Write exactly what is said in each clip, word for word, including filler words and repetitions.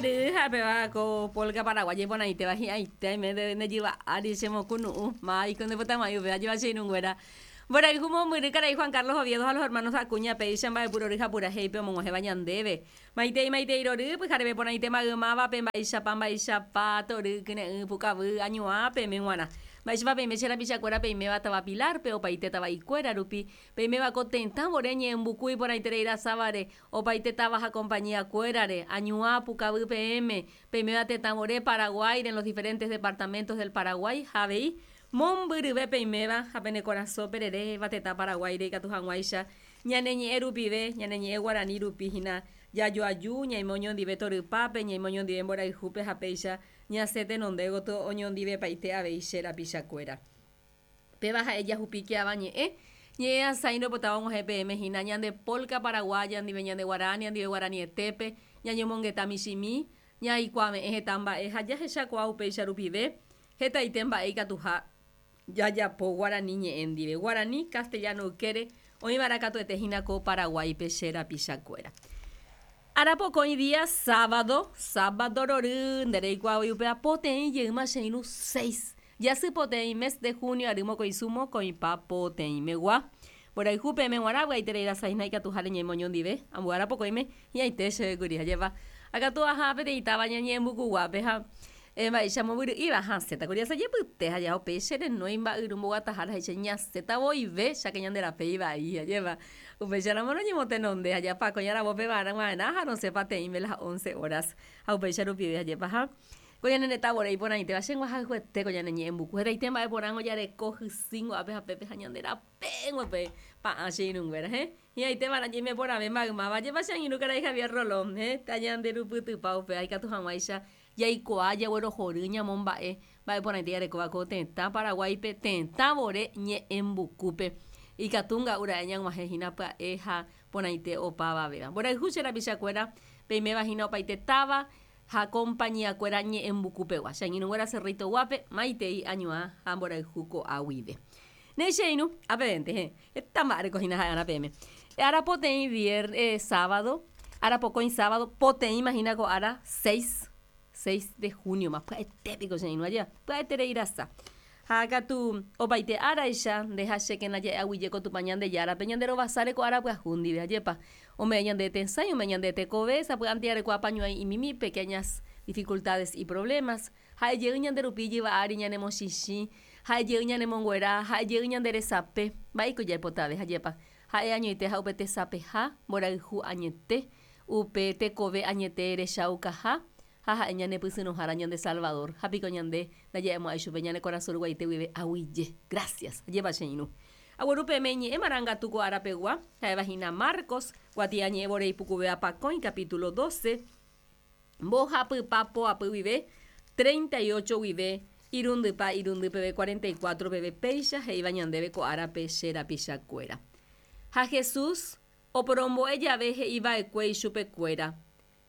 Mombyry ha péva ko polka paraguaya iporãitéva hi'ãite aime nde jyva ári chemokunu'ũ máiko ndepytamai upéva jeva che irũnguéra. Mborayhu mombyry karai Juan Carlos Oviedo ha los hermanos Acuña péicha mba'epurory ha purahéipe omog̃uahẽva ñandéve. Maitei maitei rory pyhareve porãite maymávape mba'eichapa mba'eichapa tory kyre'ỹ pukavy añuã peme g̃uarã. Mba'éichapa peime che rapichakuéra peiméva táva Pilar-pe opaite tava'ikuéra rupi peiméva ko tetã vore ñe'ẽmbuku iporãiterei rasávare opaite táva ha compañía-kuérare añuã pukavy peẽme peiméva tetã vore Paraguáire en los diferentes departamentos del Paraguay ha avei mombyryve peiméva ha pene korasõ pereréva tetã Paraguáire ikatu hag̃uáicha ñane ñe'ẽ rupive ñane ñe'ẽ guarani rupi hína jajoaju ñaime oñondive torypápe ñaime oñondive mborayhúpe ha péicha ñasẽ tenonde gotyo oñondivepaite avei che rapichakuéra. Péva ha'e jahupíke avañe'ẽ ñe'ẽ asãi ropotáva og̃uahẽ peẽme hína ñande polka paraguaya ndive ñande guarania ndive guaranietépe ñañomongeta michĩmi ñaikuave'ẽ heta mba'e ha jahechakuaa upéicha rupive hetaite mba'e ikatuha jajapo guarani ñe'ẽ ndive guarani castellano ykére oĩva'erã katuete hína ko Paraguáipe che rapichakuéra. Arapokõi día sábado, sábado rory ndereikuaávoi upéva poteĩ jeýma che irũ seis jasy poteĩ mes de junio ary mokõisu mokõipa poteĩmegua. Mborayhu peẽme g̃uarã vy'aiterei rasahína ikatuha reñeime oñondive ambue arapokõime hi'ãite chévekuri hajépa. Ha katu aha peteĩ táva ñañe'ẽmbukuguápe ha mba'éicha mombyry'íva hasẽtakuri asajepyte ha jaha upéi che renói mba'yru mboguatahára he'i che ñasẽta voive cháke ñande rape ivai hajépa. Upéicharamo roñemotenonde ha japakõi aravópe va'erã ha rosẽ pateĩme las once horas ha upéicha rupive hajépa ha ko ñane retã vore iporãitéva che g̃uahayhuete ko ñane ñe'ẽmbuku hetaite mba'e porãngo jareko hysíngo ápe ha pépe ha ñande rapénguepe pa'ã che irũnguéra he hi'ãitéva'erã ñaime porãve maymáva jepa che angirũ karai Javier Rolón he tañanderupytypa upéva ikatu hag̃uáicha jaikuaa jaguerohory ñamomba'e mba'e porãite jarekóva ko tetã Paraguáipe tetã vore ñe'ẽmbukúpe ikatu nga'u ra'e ñag̃uahẽ hína pya'e ha porãite opavavéva. Mborayhu che rapichakuéra peiméva hína opaite táva ha compañía-kuéra ñe'ẽmbukupegua. Che angirũnguéra Cerrito Guápe maitei añuã ha mborayhu ko'a guive. Néi che irũ ápevente he heta mba'e hína ha'e'arã peẽme. Arapoteĩ viernes sábado arapokõi sábado poteĩma hína ko ára seis seis de junio ma pya'etépiko che irũ ajéva pya'eterei rasa. Ha katu opaite áraicha ndehachékena ja'eaguyje ko Tupã Ñandejárape ñanderovasáre ko ára pyahu ndive ajépa. Ome'ẽ ñande tesãi ome'ẽ ñande tekove sapy'ánte jareko apañuãi imimi pequeñas dificultades y problemas ha'ejey ñanderupi jyva ári ñanemochichĩ ha'ejey ñanemonguera ha'ejey ñande resape mba'éiko jaipotave ajépa ha'e añoite ha upe tesapeha mborayhu añete upe tekove añete rechaukaha ha ha'e ñanepysyrõhára ñande Salvador ha piko ñande ndaja'emo'ãi chupe ñane korasõ ruguaite guive aguyje gracias ajépa che irũ. Agueru peẽme iñe'ẽ marangatu ko árapegua ha'éva hína Marcos kuatiañe'ẽ vore ipukuvéva pakõi capítulo doce mbohapypa poapy guive treinta y ocho guive irundypa irundy peve cuarenta y cuatro peve péicha he'íva ñandéve ko árape che rapichakuéra. Ha Jesús oporombo'e jave he'iva'ekue ichupekuéra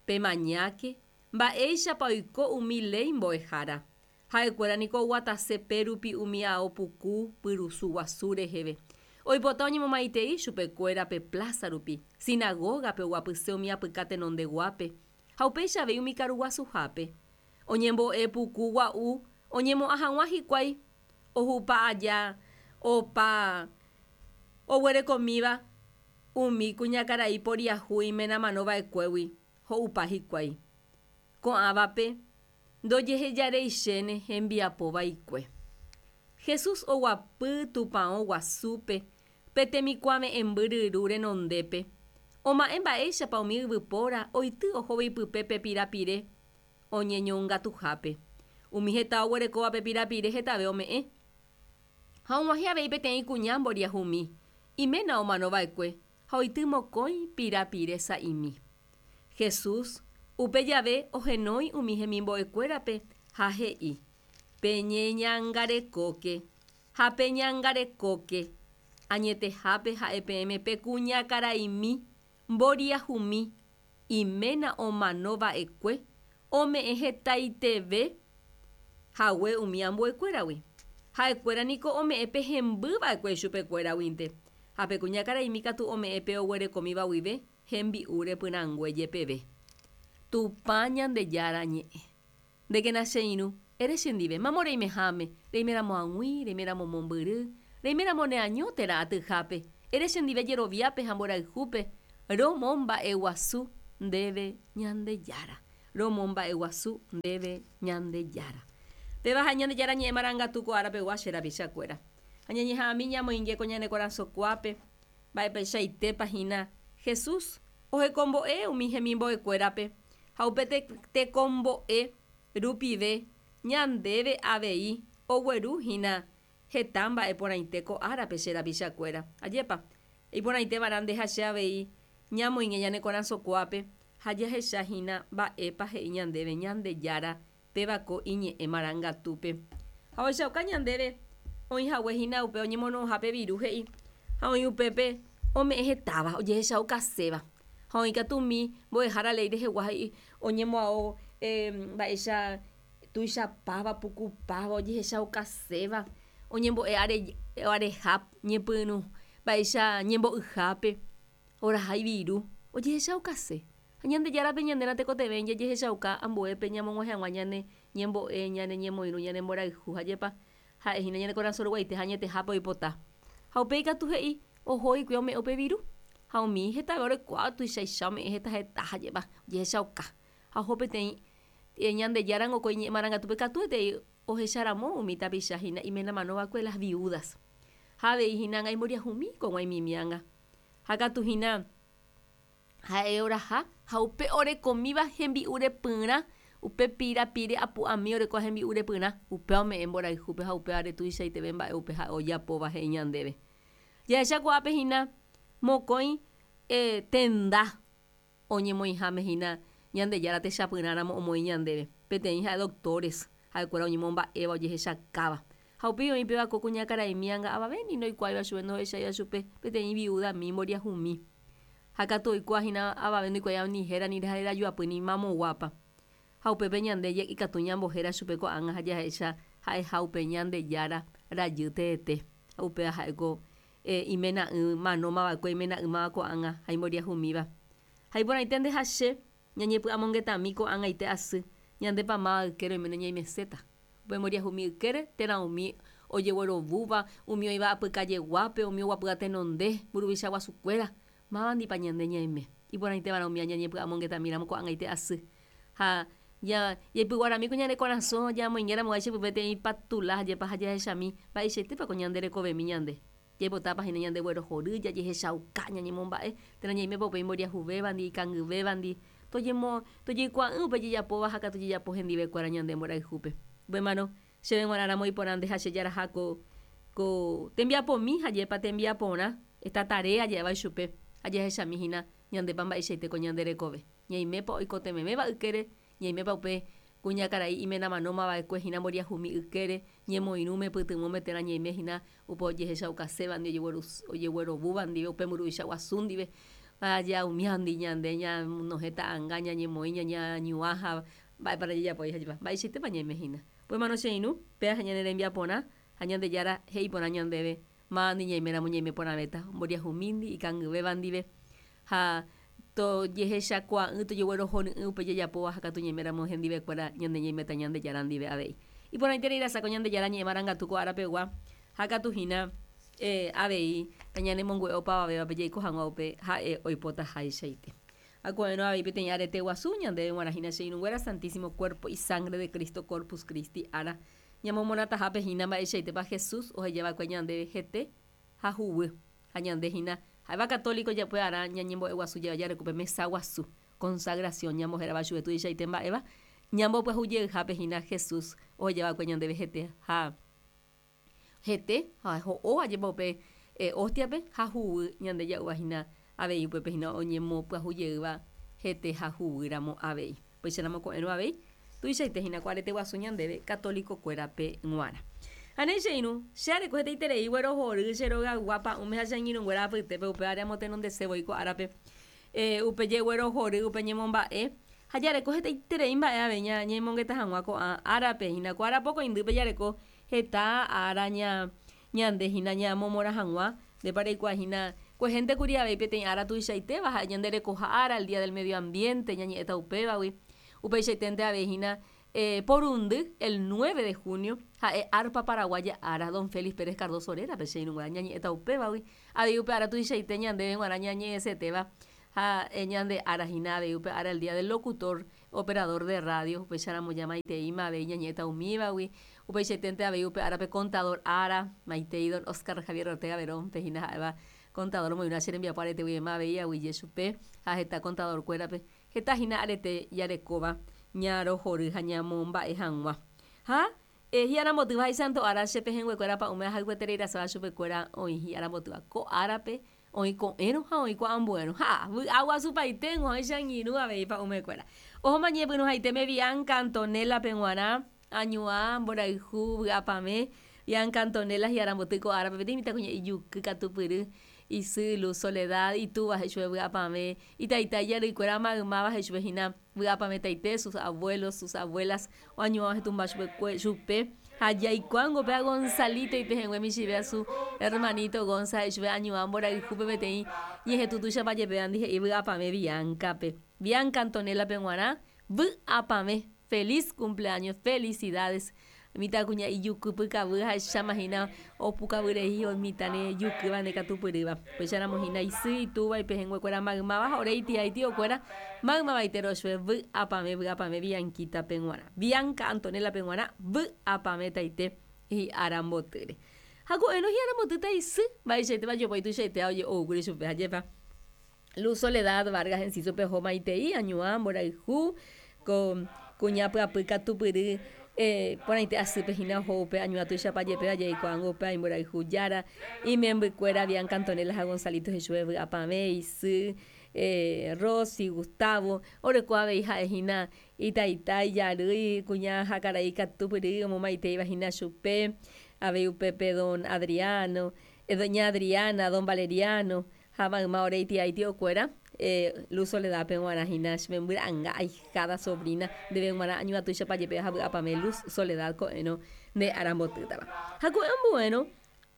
pemañáke mba'éichapa oiko umi léi mbo'ehára. Ha'ekuéra niko oguatase pérupi umi ao puku pyrusu guasu reheve. Oipota oñemomaitei chupekuéra pe plaza rupi, sinagógape oguapyse umi apyka tenondeguápe ha upéicha avei umi karu guasuhápe. Oñembo'e puku gua'u oñemo'ã hag̃ua hikuái ohupa aja opa oguerekomíva umi kuñakarai poriahu imenamanova'ekuégui ho'upa hikuái. Ko'ãvape ndojehejareichéne hembiapovaikue. Jesús oguapy tupão guasúpe pe temikuave'ẽmby ryru renondépe oma'ẽ mba'éichapa umi yvypóra oity ohóvo ipype pe pirapire oñeñongatuhápe. Umi heta oguerekóva pe pirapire hetave ome'ẽ. Ha og̃uahẽ avei peteĩ kuña mboriahumi iména omanova'ekue ha oity mokõi pirapire sa'imi. Jesús upe jave ohenói umi hemimbo'ekuérape ha he'i peñeñangarekóke ha peñangarekóke añetehápe ha'e peẽme pe kuñakaraimi mboriahumi iména omanova'ekue ome'ẽ hetaiteve hague umi ambuekuéragui. Ha'ekuéra niko ome'ẽ pe hembyva'ekue chupekuéraguinte ha pe kuñakaraimi katu ome'ẽ pe oguerekomíva guive hembi'u repyrãngue jepeve. Tupã Ñandejára ñe'ẽ. Ndékena che irũ, ere chendive, mamo reimeháme, reiméramo ag̃ui, reiméramo mombyry, reiméramo neaño térã atyhápe, ere chendive jeroviápe ha mborayhúpe, romomba'eguasu ndéve Ñandejára. Romomba'eguasu ndéve Ñandejára. Péva ha Ñandejára ñe'ẽ marangatu ko árapegua che rapichakuéra. Ha ñañeha'ãmi ñamoinge ko ñane korasõkuápe, mba'epeichaitépa hína Jesús ohekombo'e umi hemimbo'ekuérape ha upe tekombo'e rupive ñandéve avei ogueru hína heta mba'e porãite ko árape che rapichakuéra. Ajépa, iporãitévarã nde ha che avei ñamoinge ñane korasõkuápe ha jahecha hína mba'épa he'i ñandéve Ñandejára péva ko iñe'ẽ marangatúpe. Ha ohechauka ñandéve oĩhague hína upe oñemono'õhápe viru he'i ha oĩ upépe ome'ẽ hetáva ojehechaukaséva. Ha oĩ katu umi mbo'ehára léi rehegua he'i oñemo'ão mba'éicha tuichapáva, pukupáva, ojehechaukaséva, oñembo'e areha ñepyrũ, mba'éicha ñembo'yhápe, oraha iviru, ojehechaukase. Ha Ñandejárape ñandéna tekotevẽ jajehechauka ambuépe ñamog̃uahẽ hag̃ua ñane ñembo'e, ñane ñemoirũ, ñane mborayhu hajépa ha'ehína ñane korasõ ruguaite ha añetehápe oipota. Ha upéi katu he'i oho hikuái ome'ẽ upe viru ha umi hetave orekuaa tuichaicha ome'ẽ heta heta hajépa ojehechauka. Ha oho peteĩ Ñandejára ko iñe'ẽ marangatúpe katuetei ohecharamo umi tapicha hína imenamanóva'ekue las viudas. Ha avei hína ág̃a imboriahumi kog̃uaimimi ág̃a. Ha katu hína ha'e oraha ha upe orekomíva hembi'u repyrã upe pirapire apu'ami orekóva hembi'u repyrã upéva ome'ẽ mborayhúpe ha upévare tuichaiteve mba'e upe ha'e ojapóva he'i ñandéve. Jahecha ko'ápe hína mokõi tenda oñemoĩháme hína Ñandejára techapyrãramo omoĩ ñandéve. Peteĩ ha'e doctores, ha'ekuéra oñemomba'éva ojehechakáva. Ha upéi oĩ péva ko kuñakaraimi ág̃a avavéni ndoikuaáiva chupe ndohecháiva chupe peteĩ viudami mboriahumi. Ha katu oikuaahína avave ndoikuaáiva ni héra ni herajoapy ni mamoguápa. Ha upépe ñande ikatu ñambohéra chupe ko'ág̃a ha jahecha ha'eha upe Ñandejára rajy teete. Upéva ha'éko imena'ỹ manómava'ekue imena'ỹmava ko'ág̃a ha imboriahumíva. Ha iporãite nde ha che ñañepy'amongetami ko'ág̃aite asy ñandépa máva ykére oiméne ñaimeséta. Upe mboriahumi ykére térã umi ojeguerovúva, umi oĩva apykajeguápe, umi oguapýva tenonde, mburuvicha guasukuéra, mávandipa ñande ñaime. Iporãitévarã umi ñañepy'amongetamíramo ko'ág̃aite asy. Ha jaipyguarami ko ñane korasõ jamoingéramoguáicha pype peteĩ patula hajépa ha jahechami mba'eichaitépa ko ñande rekovemi ñande. Jaipotápa hína ñandeguerohory, jajehechauka, ñañemomba'e, térã ñaimépa upe imboriahuvévandi, ikangyvévandi, tojemo tojeikuaa'ỹ upe jejapóva ha katu jejapo hendivekuéra ñande mborayhúpe. Upémarõ chéve g̃uarãramo iporã nde ha che jaraha ko ko tembiapomi hajépa tembiaporã esta tarea ja'éva ichupe ha jahechami hína ñandépa mba'eichaite ko ñande rekove. Ñaimépa oikotevẽvéva ykére, ñaimépa upe kuñakarai imenamanómava'ekue hína mboriahumi ykére, ñemoirũme pytyvõme térã ñaime hína upe ojehechaukasévandi ojeguerovúva ndive upe mburuvicha guasu ndive ha umíandi ñande ñanohẽ ta'ãnga ñañemoĩ ñañañuã ha mba'épa jajapói hajépa mba'eichaitépa ñaime hína. Upémarõ che irũ péva ñane rembiaporã ha Ñandejára he'iporã ñandéve mávandi ñaiméramo ñaime porãvéta mboriahumíndi ikangyvéva ndive ha tojehechakuaa'ỹ tojeguerohory'ỹ upe jajapóva ha katu ñaiméramo hendivekuéra ñande ñaiméta Ñandejára ndive avei. Iporãiterei rasa ko Ñandejára ñe'ẽ marangatu ko árapegua ha katu hína avei tañanemongu'e opavavévape jaiko hag̃ua upe ha'e oipotaháichaite. Ako'ẽrõ avei peteĩ arete guasu ñandéve g̃uarã hína che irũnguéra Santísimo Cuerpo y Sangre de Cristo Corpus Christi ára ñamomonatahápe hína mba'eichaitépa Jesús ohejava'ekue ñandéve hete ha huguy. Ha ñande hína ha'éva católico japue'arã ñañembo'eguasu jareko upe mesa guasu consagración ñambohérava chupe tuichaite mba'éva ñambopyahujeyhápe hína Jesús ohejava'ekue ñandéve hete ha hete ha ho'o ajépa upe hostiape ha huguy ñande ja'úva hína avei upépe hína oñemopyahujeýva hete ha huguýramo avei. Upéicharamo ko'ẽrõ avei tuichaite hína ko arete guasu ñandéve católico-kuérape g̃uarã. Ha néi che irũ, che areko hetaiterei guerohory che rogaygua pa'ũme ha che angirũnguéra apytépe upévare amotenondese voi ko árape upe jeguerohory, upe ñemomba'e ha jareko hetaiterei mba'e avei ñañemongeta hag̃ua ko'ã árape hína ko ára pokõindýpe jareko heta ára ña ñande hína ñamomorã hag̃ua ndépa reikuaa hína Kuehénte kuri avei peteĩ ára tuichaitéva ha'e ñanderekoha ára, el día del medio ambiente ñañe'ẽta upévagui. Upeichaiténte avei hína eh, porundy, el nueve de junio, ha'e arpa paraguaya ára, don Félix Pérez Cardozo rérape che irũnguéra ñañe'ẽta upévagui. Avei upe ára tuichaite ñandéve g̃uarã ñañe'ẽsetéva ha ñande ára hína avei upe ára el día del locutor, operador de radio, upéicharamo jamaiteíma avei ñañe'ẽta umívagui. Upeichaiténte avei upe árape contador ára, maitei don Oscar Javier Ortega Verón, pe hína ha'éva contador omoirũva che rembiapo areteguivéma avei aguyje chupe ha heta contador kuérape heta hína arete jarekóva ñarohory ha ñamomba'e hag̃ua. Ha eh, hi'arambotýva ha ára che pehẽnguekuéra pa'ũme ahayhuetereirasáva chupekuéra oĩ hi'arambotýva ko árape oĩ ko'ẽrõ ha oĩ ko'ambuérõ. Ha vy'aguasupaite oĩ che angirũ avei pa'ũmekuéra. Ohóma ñepyrũhaitéme Bianca Antonella-pe g̃uarã añuã mborayhu vy'apavẽ Bianca Antonella hi'aramboty ko árape peteĩ mitãkuña ijuky katupyry isy Luz Soledad itúva he'i vy'apavẽ itaita ijarýikuéra maymáva he'i chupe hína vy'apavẽtaite sus abuelos, sus abuelas oañuãva hetũmba chupekue chupe ha jaikuáko péva Gonzalito ipehẽngue michĩve su hermanito Gonza he'i chupe añuã mborayhúpe peteĩ ñehetũ tuichapajepévandi he'i vy'apavẽ Bianca-pe. Bianca Antonella-pe g̃uarã vy'apavẽ feliz cumpleaños, felicidades mitãkuña ijukýpykavy ha'echáma hína opukavyrei mitãre jukýva ndekatupyrýva. Upéicharamo hína isy itúva ipehẽnguekuéra maymáva ha ore itía itiokuéra maymavaite chupe vy'apavẽ vy'apavẽ Bianquita-pe g̃uarã. Bianca Antonella-pe g̃uarã vy'apavẽtaite hi'arambotýre. Ha ko'ẽrõ hi'arambotýta isy mba'eichaitépa jopói tuichaitéva oje'ókuri chupe hajépa. Luz Soledad Vargas Enciso-pe oho maitei añuã mborayhu ko kuña pyapy katupyry eh, porãite asýpe hína oho upe añuã tuichapajepéva jaikuaángo upe imborayhu jára imembykuéra Bianca Antonella ha Gonzalito he'i chupe vy'apavẽ isy eh, Rosy, Gustavo oreko avei ha'e hína itaita ijarýi kuña ha karai katupyry omomaiteíva hína chupe avei upépe don Adriano, eh, doña Adriana, don Valeriano ha mayma ore itía itiokuéra eh, Luz Soledad-pe g̃uarã hína chemembyra'ãnga ahijada sobrina ndéve g̃uarã añuã tuichapajepéva ha vy'apavẽ Luz Soledad ko'ẽrõ nde arambotýtava. Ha ko'ẽ ambuérõ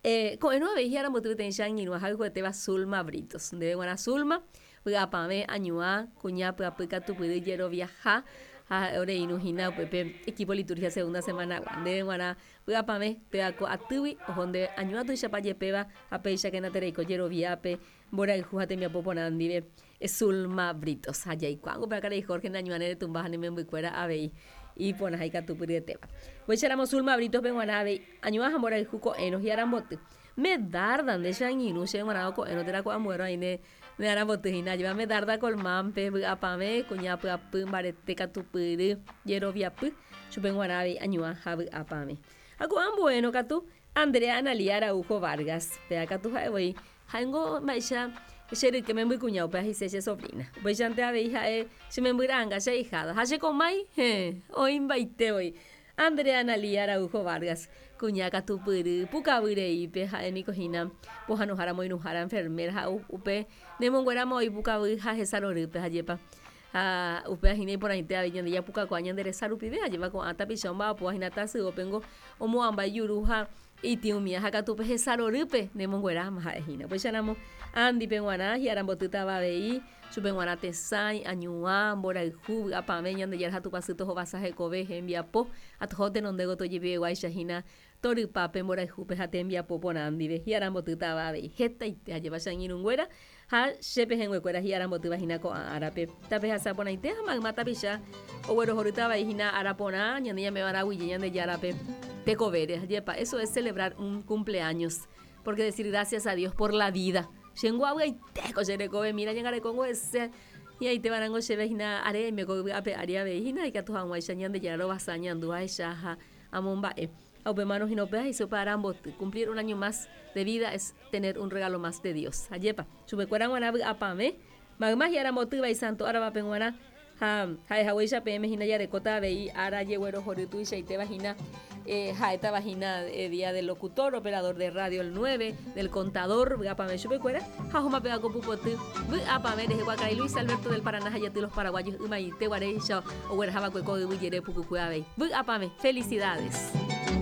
eh, ko'ẽrõ avei hi'aramboty peteĩ che angirũ ahayhuetéva Zulma Britos. Ndéve g̃uarã Zulma vy'apavẽ añuã kuña pyapy katupyry jeroviaha ha ore irũ hína upépe equipo liturgia segunda semana-gua. Ndéve g̃uarã vy'apavẽ péva ko atýgui oho ndéve añuã tuichapajepéva ha péichakena tereiko jeroviápe mborayhu ha tembiapo porã ndive Zulma Britos. Ha jaikuáko péva karai Jorge nañuãre retũmba ha nemembykuéra avei iporã ha ikatupyryetéva. Upéicharamo Zulma Britos-pe g̃uarã avei añuã ha mborayhu ko'ẽrõ hi'aramboty. Medarda nde che angirũ che g̃uarã ko'ẽrõ térã ko'ambuérõ aĩ ne aramboty hína ajépa Medarda Colmán-pe vy'apavẽ kuña pyapy mbarete katupyry jeroviapy chupe g̃uarã avei añuã ha vy'apavẽ. Ha ko'ambuérõ katu Andrea Analía Araujo Vargas péva katu ha'evoi ha'éngo mba'éicha che ryke membykuña upéva he'ise che sobrina. Upéichante avei ha'e che membyra'ãnga che ahijada ha chekomái heẽ oĩmbaite Andrea Analía Araujo Vargas kuña katupyry pukavyreípe ha'éniko hína pohãnohára moirũhára enfermera ha upe nemongueráma oĩ pukavy ha hesarorýpe hajépa. Ha upéva hína iporãite avei ñande japukakuaa ñande resa rupive ajépa ko'ã tapicha omba'apóva hína tasyópengo omo'ãmba ijuru ha itĩumía ha katu upe hesarorýpe nemongueráma ha'e hína. Upéicharamo Andy-pe g̃uarã hi'arambotýtava avei chupe g̃uarã tesãi, añuã, mborayhu, vy'apavẽ Ñandejára ha Tupãsy tohovasa hekove hembiapo ha toho tenonde gotyo jepiveguáicha hína torypápe mborayhúpe ha tembiapo porã ndive hi'arambotýtava avei hetaite ajépa che angirũnguéra ha che pehẽnguekuéra hi'arambotýva hína ko'ã árape. Tapehasa porãite ha mayma tapicha oguerohorýta avei hína ára porã ñande ñame'ẽva'erã aguyje Ñandejárape tekovére. Ajépa eso es celebrar un cumpleaños porque decir gracias a Dios por la vida. Chéngo avy'aitéko che rekove mira ñangarekongo hese hi'ãiteva'erãngo chéve hína are aime ko yvy'ape ári avei hína ikatu hag̃uáicha Ñandejára rovasa ñandu ahecha ha amomba'e. Ha upémarõ hína upéva he'ise upe aramboty. Cumplir un año más de vida es tener un regalo más de Dios. Ajépa chupekuéra g̃uarã vy'apavẽ mayma hi'arambotýva isanto áravape g̃uarã ha ha'ehaguéicha peẽme hína jarekóta avei ára jeguerohory tuichaitéva hína eh, ha'étava hína eh, día del locutor, operador de radio el nueve, del contador vy'apavẽ chupekuéra ha ohóma péva ko pupoty vy'apavẽ rehegua karai Luis Alberto del Paraná ha jaty los paraguayos ymaite guaréicha oguerahava'ekue ko yvy jere pukukue avei. Vy'apavẽ, felicidades.